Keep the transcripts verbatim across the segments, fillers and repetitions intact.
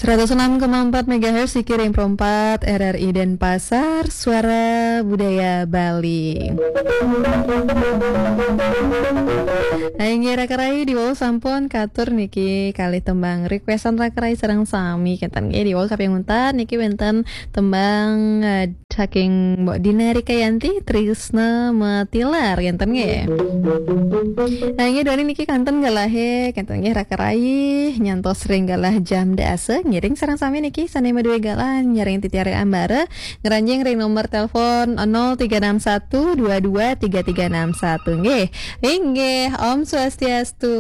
Seratus enam koma empat megahertz, Sikiring Perempat, R R I Denpasar, Suara Budaya Bali. Nah, inggih raka rayi, diwau sampun katur niki kalih tembang requestan raka rayi sareng sami, kenten nggih. Diwau kaping untat niki wenten tembang, eh, saking Mbok Dina Rikayanti, Trisna Matilar, kenten nggih. Nah, inggih duaning niki kenten galahe, kenten nggih raka rayi, nyantos ring galah jam dasa, ngiring sareng sami niki sane madue galah nyarengin titiang ring ambara, ngranjing ring nomor telepon nol tiga enam satu dua dua tiga tiga enam satu nggih. Inggih, Om Swastiastu.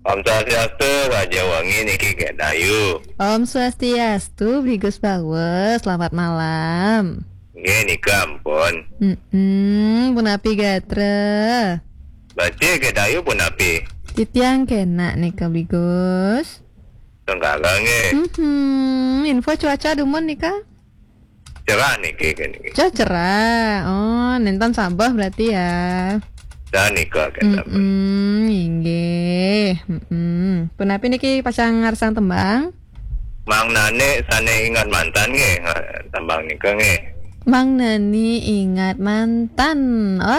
Om Swastiastu, Raja Wangi niki Gek Dayu. Om Swastiastu, Bli Gus Bawa, selamat malam. Nggih, nika ampun. Mm-mm, punapi gatra? Becik, Gek Dayu, punapi? Titiang kenak nika, Bli Gus. Tenggara nggih. Mm-hmm. Info cuaca dumun nika? Cerah niki, niki. Cuaca cerah. Oh, nenten sabeh berarti ya. Dah nika, kenten. Mm-mm, inggih. Mm-mm. Punapi niki pacang ngarsang tembang? Mang Nani sane ingat mantan nggih, tembang nika nggih. Mang Nani ingat mantan.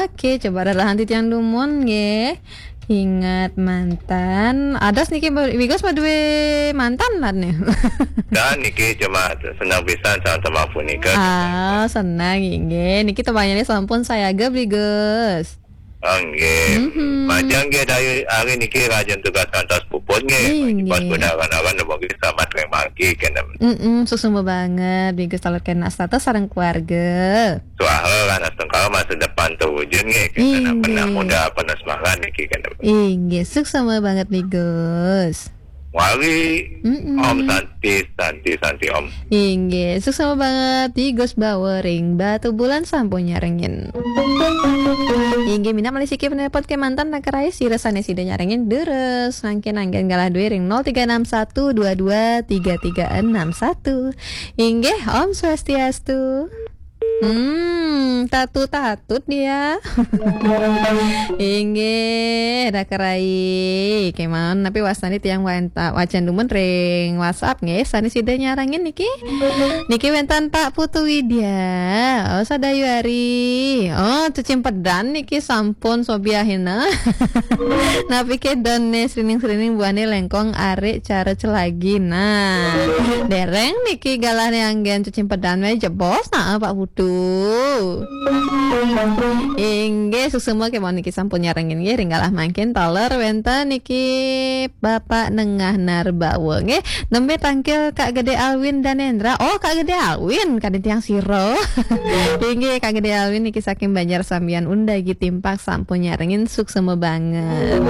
Oke, coba rerehang titiang dumun nggih. Ingat mantan. Adas niki Bli Gus madue mantan lah nih. Dan niki cuma senang pisan sama tembang punika. Ah, senang inggih. Niki tembangnya sampun sayaga, Bli Gus. Oh, nggih. Mhm. Majeng nggih, Dayu, hari niki rajin tugas kantos puput nggih. Inggih. Pas budal awan-awan, mugi selamat ring margi, kenten. Mm-mm, suksma banget, Bli Gus, taler kenak sareng keluarga. Suara lan astungkara masa depan terwujud nggih, kenten. Inggih. Pernah muda, pernah semangat niki, kenten. Inggih, suksma banget, Bli Gus. Wali, mm-mm. Om Santi, Santi, Santi Om. Inggih, suksma banget, Bli Gus Bawa ring Batubulan sampun nyarengin. Inggih, minab malih siki penelpon kemanten raka rayi, sira sane sida nyarengin durus. Mangkin anggen galah duwe ring nol tiga enam satu dua dua tiga tiga enam satu. Inggih, Om Swastiastu. Hmm, tatut-tatut dia. Inggih, raka rayi. Kemawon napi wastane tiang wanta-, wacan dumun ring WhatsApp nggih, sane sida nyarengin niki. Niki wenten Pak Putu Widya. Oh, sadayuari. Oh, cecimpedan niki sampun sobiahina. Napi ke done srining-srining buane lengkong arik cara celagi. Nah, dereng niki galahne anggen cecimpedan wae jebos, nah, Pak Putu. Inggih, suksma kemawon niki sampun nyarengin nggih, ring galah mangkin taler wenten niki Bapak Nengah Narbawa nggih. Nembe tangkil Kak Gede Alwin Danendra. Oh, Kak Gede Alwin, kadin tiang sira. Inggih, Kak Gede Alwin niki saking Banjar Sambian Undagi Timpak sampun nyarengin, suksma banget.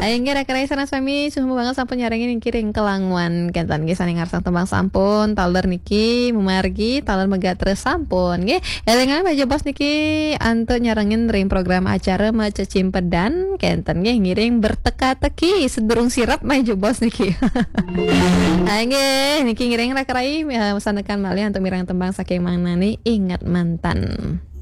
Ayo nggih, raka rayi sareng sami, suksma banget sampun nyarengin niki ring Kelangwan. Kenten nggih sane ngarsang tembang sampun, taler niki mamargi, taler megatra sampun nggih. Elingan malih jebos niki antuk nyarengin ring program acara Macecimpedan, kenten nggih, ngiring berteka-teki sedurung sirep malih jebos niki. Ah, nggih, niki ngiring raka rayi, eh, sanekan malih antuk mireng tembang saking Mang Nani, Ingat Mantan.